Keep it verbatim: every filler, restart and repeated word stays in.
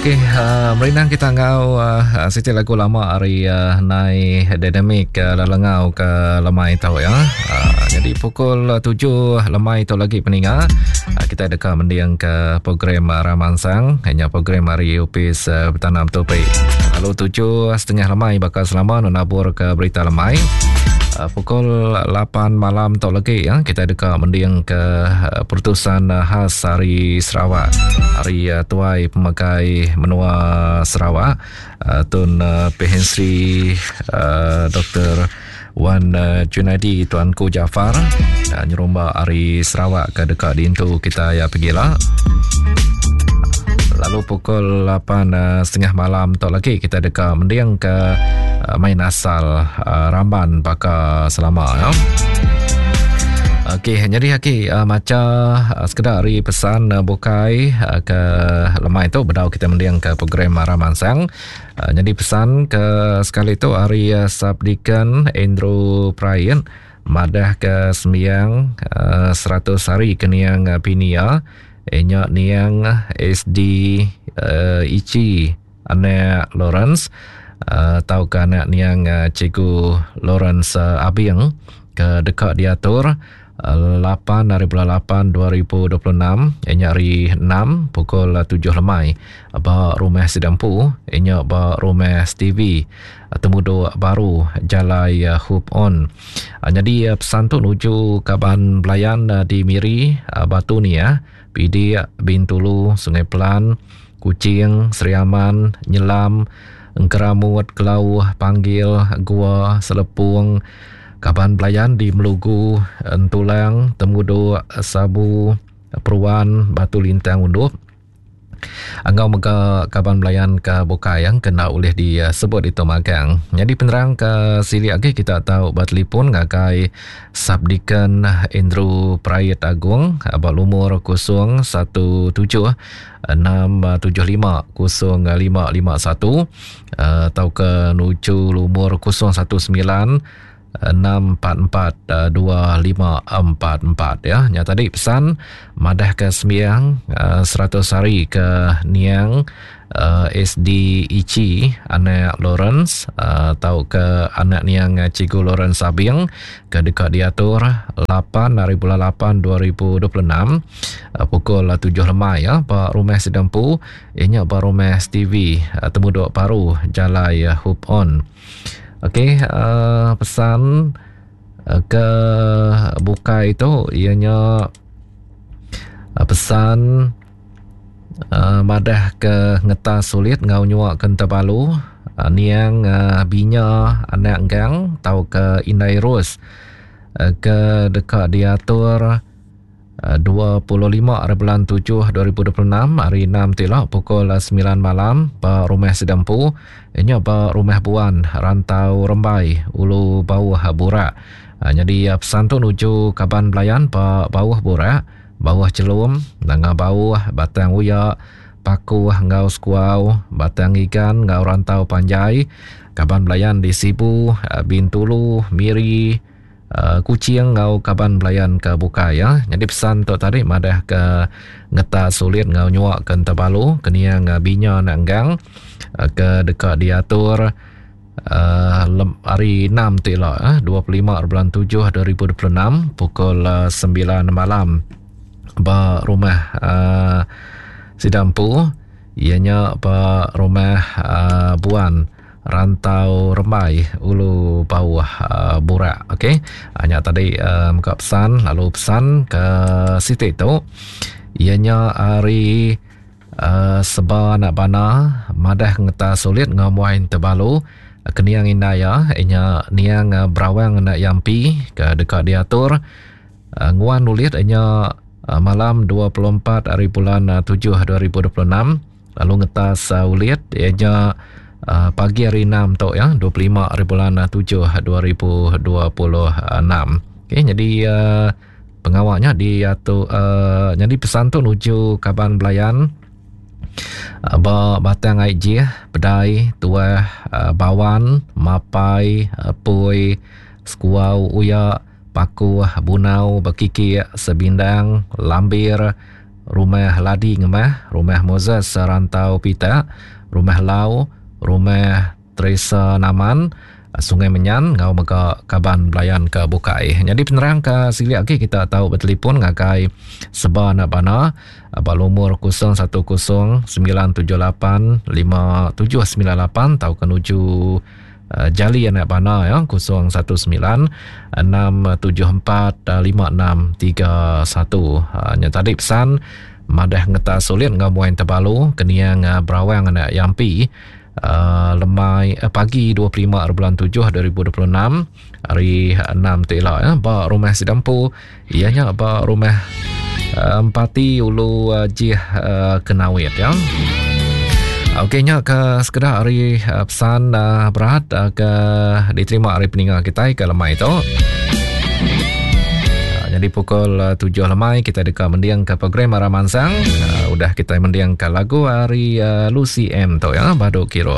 Okey, uh, merindang kita ngau uh, siti lagu lama hari uh, nai dynamic uh, lelengau ke lemai tau ya. Uh, jadi pukul tujuh lemai tu lagi peninga uh, kita deka mendiang ke program uh, Ramansang, hanya program hari Upis uh, Bertanam Topi. Lalu tujuh setengah lemai bakal selama menabur ke berita lemai. Uh, pukul lapan malam tu lagi ya, kita deka mendiang ke uh, pertusan uh, khas hari Sarawak. Hari uh, Tuai Pemakai Menua Sarawak uh, Tun uh, Pehin Sri uh, Doktor Wan uh, Junaidi Tuanku Jaafar uh, nyerumba hari Sarawak ke dekat dintu kita ya pergilah. Lalu pukul lapan setengah malam tu lagi kita dekat mendiang ke uh, main asal uh, Ramban baka selama ya. Okey, jadi haki uh, maca uh, sekedar hari pesan uh, bukai uh, ke lemai tu bedau kita mendiang ke program Ramansang. Uh, jadi pesan ke sekali tu hari uh, Sabdikan Andrew Prain madah ke sembiang uh, seratus hari ke niang uh, Pinia enyak niang S D uh, Ichi anak Lawrence uh, tau ke anak niang uh, Cikgu Lawrence uh, Abing ke dekat diatur lapan hari bulan lapan dua ribu dua puluh enam enyak hari enam pukul tujuh lemai ba rumah Sidampu enyak ba rumah Stevie Temudo Baru Jalai Hoop On. Jadi pesan tu nuju kaban belayan di Miri, Batu ni ya, Pidik, Bintulu, Sungai Pelan, Kuching, Sri Aman, Nyelam, Engkeramut, Kelauh, Panggil, Gua, Selepung, kaban belayan di Melugu, Entulang, Temudo, Sabu, Peruan, Batu Lintang, Undup. Angau mega kaban belayan ke Bukai yang kena oleh disebut itu magang. Jadi penerang ke sili lagi kita tahu bertelefon ngagai Sabdikan Andrew Prayet Agung abang lumur kosong satu tujuh enam tujuh lima kosong lima lima satu atau ke nuju lumur kosong satu sembilan enam empat empat dua lima empat empat ya. Nya tadi pesan madah ke sembiang seratus hari ke niang uh, S D Ichi anak Lawrence atau uh, ke anak niang Cikgu Lawrence Abing ke dekat diatur lapan hari bulan lapan dua ribu dua puluh enam uh, pukul tujuh lemai ya ba rumah Sidampu ianya ba rumah Stevie uh, Temudok Paru Jalai uh, Hoop On. Okey, uh, pesan uh, ke buka itu ianya uh, pesan uh, madah ke ngetas sulit ngau nyuak ke Tebalu uh, niang uh, binya anak enggang tau ke Indai Ros uh, ke dekat diatur uh, dua puluh lima hari bulan tujuh dua ribu dua puluh enam hari enam tilak pukul sembilan malam ba rumah Sidampu inya ba rumah Buan Rantau Rembai Ulu Bauh Burak. Ha, jadi pesan tu nuju kaban belayan ba Bauh Burak, Bauh Celum, Nanga Bauh, Batang Uyak, Paku Ngau Sekuau, Batang Igan Ngau Rantau Panjai, kaban belayan di Sibu, Bintulu, Miri, Uh, Kuching ngau kaban belayan ke Bukai ya. Jadi pesan tu tadi madah ke ngeta sulit ngau nyuak ke Tebalu keniang binya nak enggang uh, ke dekat diatur uh, lem, hari enam tu elok uh, dua puluh lima bulan tujuh dua ribu dua puluh enam pukul uh, sembilan malam ba rumah uh, Sidampu ianya ba rumah uh, Buan Rantau Rembai Ulu Bawah uh, Burak. Okey, hanya tadi uh, muka pesan lalu pesan ke situ itu ianya hari uh, seba nak bana madah ngeta sulit ngamuain Tebalu keniang indaya ianya niang uh, berawang nak yampi ke dekat diatur uh, nguan nulit ianya uh, malam dua puluh empat hari bulan uh, tujuh dua ribu dua puluh enam lalu ngetas uh, ulit ianya Uh, pagi hari enam tu ya dua puluh lima hari bulan tujuh dua ribu dua puluh enam. Okey, jadi uh, pengawalnya diatur uh, jadi pesan tu nuju kaban belayan uh, ba Batang Aijih, Pedai, Tuah, uh, Bawan, Mapai, uh, Pui, Sekuau, Uyak, Paku, Bunau, Bekikik, Sebindang, Lambir, Rumah Ladi Ngemah, Rumah Moses Rantau Pitak, Rumah Lau, Rumah Teresa Naman, Sungai Menyan enggau mega kaban belayan ke bukai. Nyadi penerang ke silik agi kita tau betelefon ngagai Seba Anak Bana ba lumur kosong satu kosong sembilan tujuh lapan lima tujuh sembilan lapan tauka nuju Jali Anak Bana ya kosong satu sembilan enam tujuh empat lima enam tiga satu. Nya tadi pesan madah ngetas sulit enggau muai tebalu keniang Berawang Anak Yampi Uh, lemai uh, pagi dua puluh lima bulan tujuh dua ribu dua puluh enam hari enam tu ila ya, ba rumah Sidampu ianya ba rumah uh, Empati Ulu uh, Jih uh, Kenawit ya. Okey nya ke sekedar hari uh, pesan uh, berat uh, ke diterima hari peninga kita ke lemai tu. Jadi pukul tujuh lemai kita deka mendiang ke program Arah Mansang. Uh, udah kita mendiang ke lagu hari uh, Lucy M tu ya, Badu Kiro.